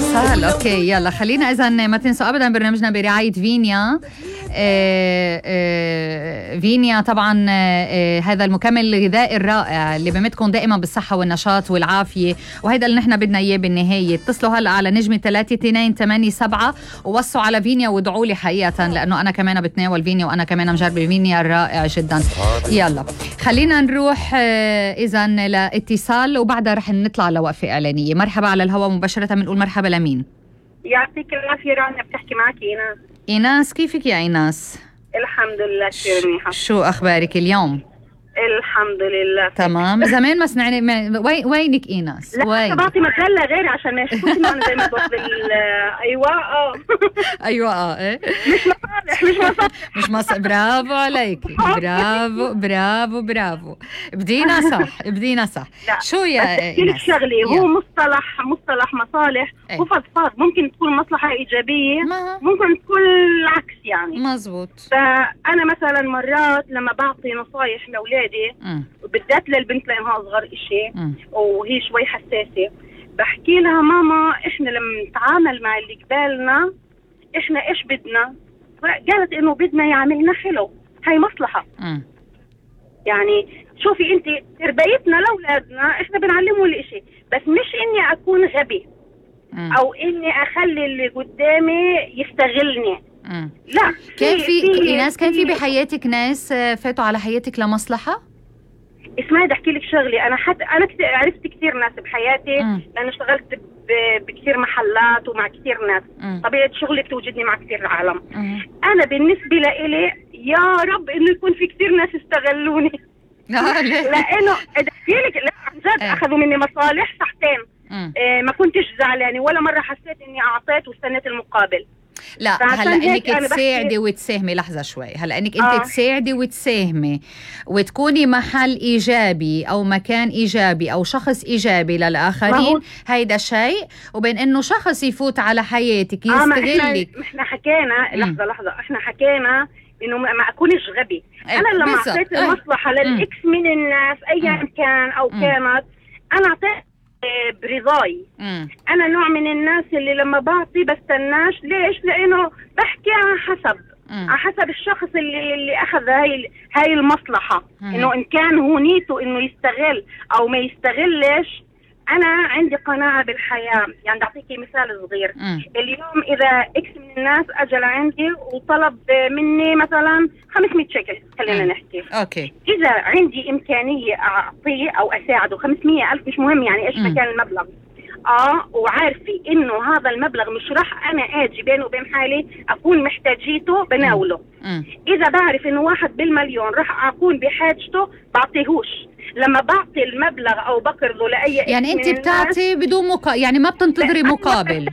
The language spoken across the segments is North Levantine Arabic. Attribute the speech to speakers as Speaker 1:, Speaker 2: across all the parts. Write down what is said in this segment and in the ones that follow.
Speaker 1: اتصال. اوكي يلا خلينا اذا ما تنسوا ابدا برنامجنا برعايه فينيا. فينيا طبعا هذا المكمل الغذائي الرائع اللي بمدكم دائما بالصحه والنشاط والعافيه، وهيدا اللي نحن بدنا اياه بالنهايه. اتصلوا هلا على نجمه 3287 ووصوا على فينيا وادعوا لي حقيقه، لانه انا كمان بتناول فينيا وانا كمان مجربه فينيا الرائع جدا. يلا خلينا نروح اذا لاتصال وبعدها رح نطلع لوقفه اعلانيه. مرحبا على الهواء مباشره، بنقول مرحبا لمين؟
Speaker 2: يعطيك العافيه رانيا، بتحكي معك ايناس.
Speaker 1: ايناس كيفك يا ايناس؟
Speaker 2: الحمد لله كثير منيحه.
Speaker 1: شو اخبارك اليوم؟
Speaker 2: الحمد لله
Speaker 1: تمام. زمان ما سمعني. وينك ايناس؟
Speaker 2: لا بعطي مجله غير عشان ما يشوفوني معنا زي ما بوصل. ايوه
Speaker 1: ايوه ايه مش مصالح. برافو عليك، برافو. بدينا صح. شو يا
Speaker 2: ايناس؟ شغلي هو مصطلح مصالح وفضفاض. ممكن تكون مصلحه ايجابيه، ممكن تكون العكس يعني.
Speaker 1: مزبوط.
Speaker 2: فانا مثلا مرات لما بعطي نصايح لاولادي وبالذات للبنت لانها اصغر اشي وهي شوي حساسه، بحكي لها ماما احنا لما نتعامل مع اللي قبالنا احنا ايش بدنا؟ قالت انه بدنا يعملنا حلو، هاي مصلحه. يعني شوفي انت تربيتنا لاولادنا احنا بنعلمهم الاشي، بس مش اني اكون غبي او اني اخلي اللي قدامي يستغلني. لا.
Speaker 1: كان في ناس كان في بحياتك ناس فاتوا على حياتك لمصلحة؟
Speaker 2: اسمعي بدي احكي لك شغلي. انا عرفت كثير ناس بحياتي لانه اشتغلت بكثير محلات ومع كثير ناس. طبيعة شغلي بتوجدني مع كثير عالم. انا بالنسبة لإلي يا رب انه يكون في كثير ناس استغلوني. لانه بدي احكي لك لا عن جد اخذوا مني مصالح صحتين. ما كنتش زعلانة ولا مرة حسيت اني اعطيت واستنيت المقابل.
Speaker 1: لا هلا انك تساعدي وتساهمي. لحظه شوي. هلا انك انت تساعدي وتساهمي وتكوني محل ايجابي او مكان ايجابي او شخص ايجابي للاخرين، هيدا شيء، وبين انه شخص يفوت على حياتك يستغلك.
Speaker 2: احنا حكينا لحظه احنا حكينا انه ما اكونش غبي. انا لما اعطيت المصلحه للاكس من الناس ايا كان او كانت، انا اعطيت برضاي. انا نوع من الناس اللي لما بعطي بستناش. ليش؟ لانه بحكي على حسب الشخص اللي اخذ هاي المصلحة. انه ان كان هو نيته انه يستغل او ما يستغلش. انا عندي قناعة بالحياة. يعني اعطيكي مثال صغير. اليوم اذا اكس من الناس اجى لعندي وطلب مني مثلا 500 شيكل خلينا نحكي.
Speaker 1: اوكي.
Speaker 2: اذا عندي امكانية اعطيه او اساعده 500,000 مش مهم يعني ايش ما كان المبلغ. وعارفة انه هذا المبلغ مش راح انا اجي بينه وبين حالي اكون محتاجيته بناوله. اذا بعرف انه 1 بالمليون راح اكون بحاجته بعطيهوش. لما بعطي المبلغ او بقرضه لاي
Speaker 1: يعني انت بتعطي بدون يعني ما بتنتظري مقابل.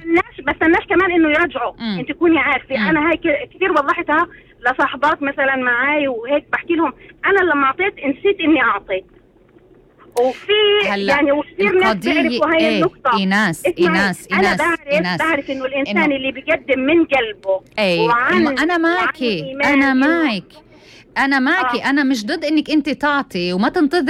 Speaker 2: بستناش كمان انه يرجعوا. انت تكوني عارفه. انا هاي كثير وضحتها لصاحبات مثلا معاي وهيك بحكي لهم انا لما اعطيت نسيت اني اعطيت. وفي يعني وكثير ناس بيعرفوا هاي النقطة.
Speaker 1: إيناس
Speaker 2: أنا بعرف إنه الإنسان اللي بيقدم من قلبه.
Speaker 1: أنا معك. أنا مش ضد إنك أنت تعطي وما تنتظري